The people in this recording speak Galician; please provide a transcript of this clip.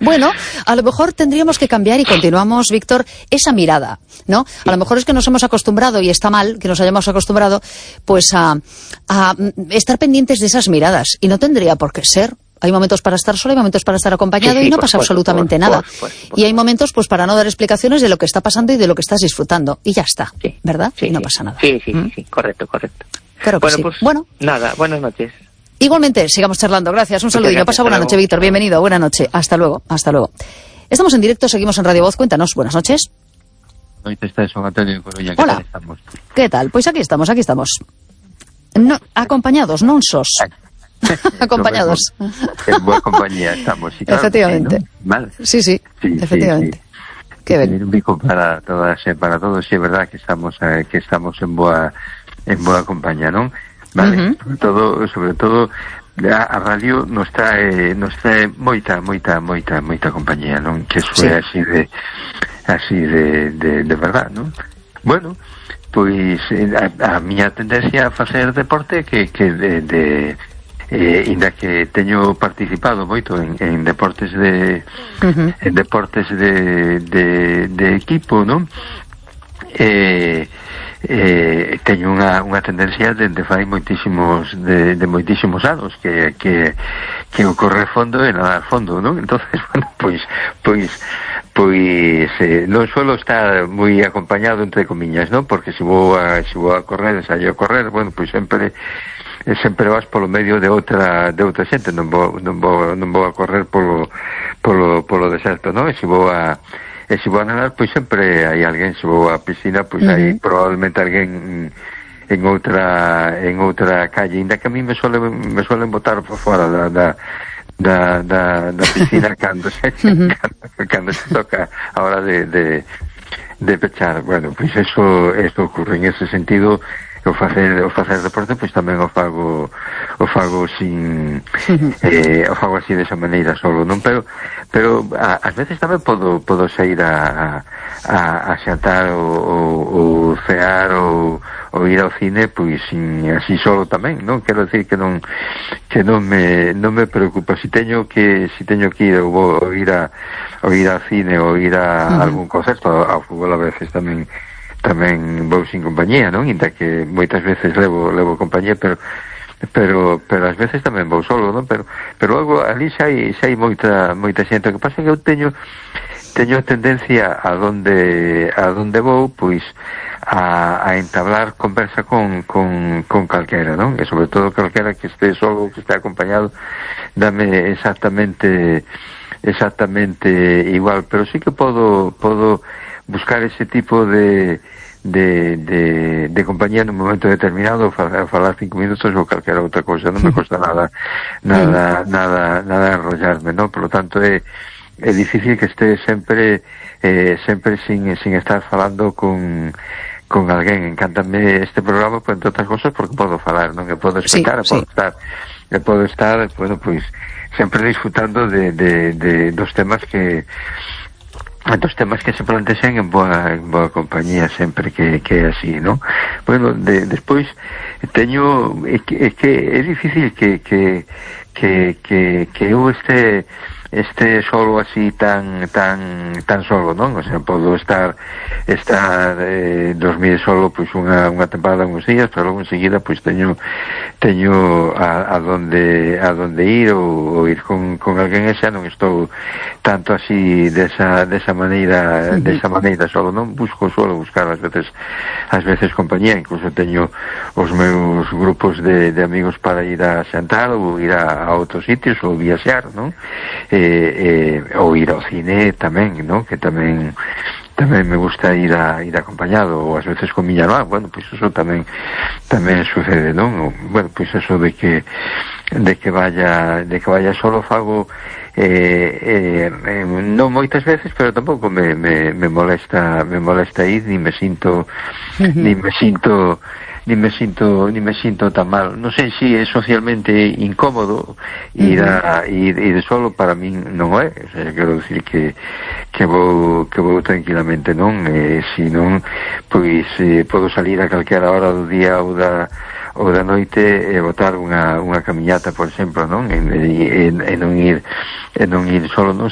Bueno, a lo mejor tendríamos que cambiar y continuamos, Víctor, esa mirada, ¿no? A lo mejor es que nos hemos acostumbrado, y está mal que nos hayamos acostumbrado, pues a estar pendientes de esas miradas, y no tendría por qué ser. Hay momentos para estar solo, hay momentos para estar acompañado, y no pasa absolutamente nada. Y hay momentos pues para no dar explicaciones de lo que está pasando y de lo que estás disfrutando. Y ya está, ¿verdad? Y no pasa nada. Sí, correcto. Claro que sí. Pues bueno, nada, buenas noches. Igualmente, sigamos charlando. Gracias, un saludillo. Pasa buena noche, Víctor. Bienvenido, buena noche. Hasta luego. Estamos en directo, seguimos en Radio Voz. Cuéntanos, buenas noches. Hola. ¿Qué tal? Pues aquí estamos. No, acompañados, non sos. Acompañados. En buena compañía estamos. Sí, claro, efectivamente. ¿no? Vale. Sí, efectivamente. Sí. Qué bien. Un bico para todas, para todos, sí, es verdad que estamos en boa compañía, ¿no? Vale. Sobre todo a radio nos trae moita compañía, ¿no? Que eso é así de verdad, ¿no? Bueno, pois a miña tendencia a facer deporte que inda que teño participado moito en deportes de equipo, non? Teño unha tendencia de fai moitísimos anos que o correr fondo e nadar fondo, non? Entonces, bueno, pois non suelo estar moi acompañado, entre comiñas, non? Porque se vou a correr, ensaio a correr, bueno, pois sempre vas polo medio de outra xente, non vou a correr polo deserto, non? E se vou a nadar, pois sempre hai alguén. Se vou a piscina, pois hai probablemente alguén en outra calle, ainda que a mí me suelen botar por fora da piscina cando se toca a hora de pechar. Bueno, pois eso ocurre en ese sentido. O facer deporte, pois tamén o fago sin o fago así desa maneira solo, non? Pero ás veces tamén podo sair a xantar ou cear ou ir ao cine, pois así solo tamén, non? Quero decir que non me preocupa si teño que ir ou ir ao cine ou ir a algún concerto, ao fútbol a veces tamén vou sin compañía, non? Inda que moitas veces levo compañía, pero ás veces tamén vou solo, non? Pero logo ali xa hai moita xente. O que pasa é que eu teño tendencia a donde vou, pois a entablar conversa con calquera, non? E sobre todo calquera que este solo, que este acompañado, dame exactamente igual, pero sí que podo buscar ese tipo de compañía nun momento determinado, falar 5 minutos ou calquera outra cousa. Non me cuesta nada enrollarme, non? Por lo tanto é difícil que este sempre sin estar falando con alguén. Encántame este programa, pues, entre outras cosas, porque podo falar, non? Que podo explicar, podo estar, bueno, pois sempre disfrutando dos temas que se plantexen en boa compañía, sempre que é así, non? Bueno, despois teño é que é difícil que eu este solo así tan solo, non? O sea, podo estar 2000 solo, pois unha temporada, uns días, pero logo enseguida pois teño a donde ir ou ir con alguén. E xa non estou tanto así desa maneira solo, non? Suelo buscar ás veces compañía. Incluso teño os meus grupos de amigos para ir a xantar ou ir a outros sitios ou viaxar, non? Ou ir ao cine tamén, non? Que tamén me gusta ir acompañado, ou ás veces con miña irmá. Bueno, pois eso tamén sucede, non? Bueno, pois eso de que vaya solo fago non moitas veces, pero tampouco me molesta ir, ni me sinto tan mal. Non sei se é socialmente incómodo ir solo. Para min non é. O sea, quero dicir que vou tranquilamente, non? Se non, pois podo salir a calquera hora do día ou da noite e botar unha camiñata, por exemplo, non? E non ir solo, non?